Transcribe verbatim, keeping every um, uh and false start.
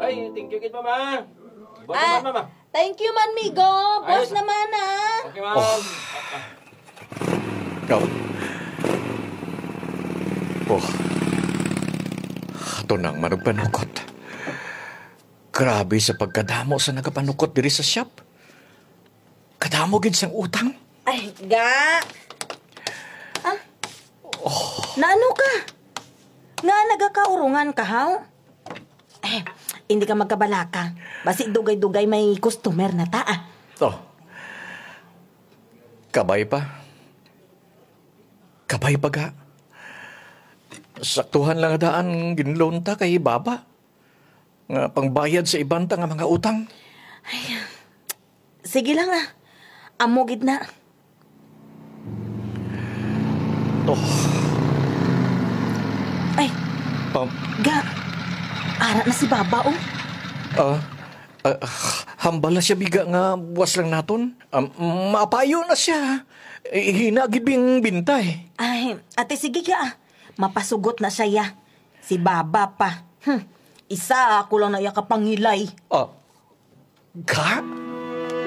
Ay, thank you gid, mama. Buwan Ah, naman, mama. Thank you man, migo. Buwas Ayos. Naman, ah. Okay, ma'am. Oh. Ikaw. Oh. Ato nang manugpanukot. Grabe sa pagkadamo sa nagapanukot diri sa shop. Kadamo gid sang utang. Ay, ga. Ah? Naano ka? Nga nagakaurungan ka, haw? Eh, hindi ka magkabalaka. Basi dugay-dugay may customer na ta, ah. Oh. Kabay pa. Kabay pa ga. Saktuhan lang daan ginloan ta kay Baba. Nga pangbayad sa iban ta nga mga utang. Sige lang, ah. Amo gid na. Oh. Ay, Um, ga. Ara na si Baba, oh. Ah, ah, hambal na siya, biga, nga buwas lang naton. Um, maapayo na siya. Eh, hina gid bing bintay. Ay, ate, sige ga, ah. Mapasugot na siya, ya. Si Baba pa. Hmm. Isa ako lang na iya kapangilay. Ah, ga?